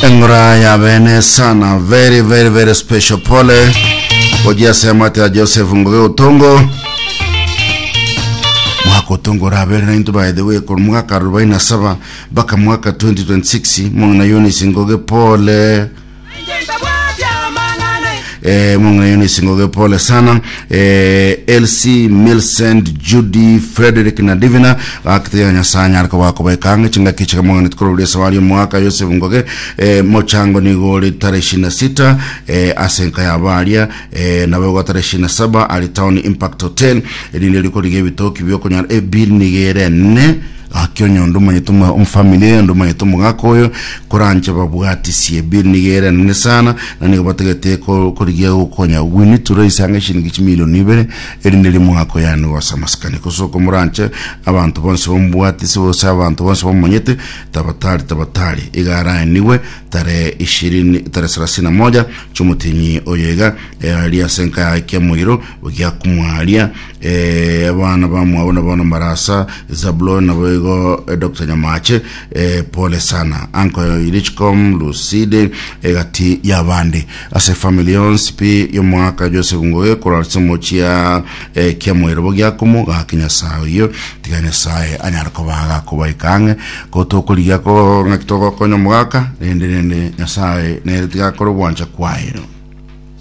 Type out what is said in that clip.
Eng'ora ya bene sana very very very special pole ojia semate ya Joseph Ngoge Otongo mwaka Otongo orabere nainto by the way korwa mwaka 47 mpaka mwaka 2026 mong'ina Eunice Ngoge pole eh, mong'ina Eunice Ngoge pole sana eh, LC Milcent Judy Frederick na Divina gakitiga Nyasaye anyare koba kobaikang'e chingaki chiga mong'ina tikororia esabari omwaka Joseph Ngoge eh, mochango nigo ore tarehe 26 eh, ase enka ya baria eh, nabo igo tarehe 27 ari Town Impact Hotel erinde rikorigia ebitoki biokonyora ebill nigo ere ene Gaki onye onde omanyete omo- omofamily eye, onde omanyete omogaka oyo, koranche babwatisie ebill nigo ere enene sana, na nigo batagete ko- korigia gokonya. We need to raise ang'e chilingi chimilion ibere, erinde riria omogaka oyo aye nigo ase amasikani. Gose okomoranche, abanto bonsi bamobwatisie gose abanto bonsi bamomanyete, tabatari tabatari, iga araenigwe tarehe ishirini tarehe thelathini na moja chiomotienyi oyo iga, eh, aria ase enka yaye kiamoiro, giakumwaria Eh, abana bamwabo na bono Marasa, Zabuloni naboigo eh, Dr. Nyamache eh, pole sana Uncle Richcom Lucide egati y'abande ase family yonsi pi y'omwaka Joseph Ngoge korwa ase mochia eh, kiamoiro bogiakomo gaki Nyasaye oyio tiga Nyasaye anyare koba gakobaika ang'e ko tokorigia ko ng'aki togokonya omogaka rende rende Nyasaye nere tiga akore ogwancha kwaye.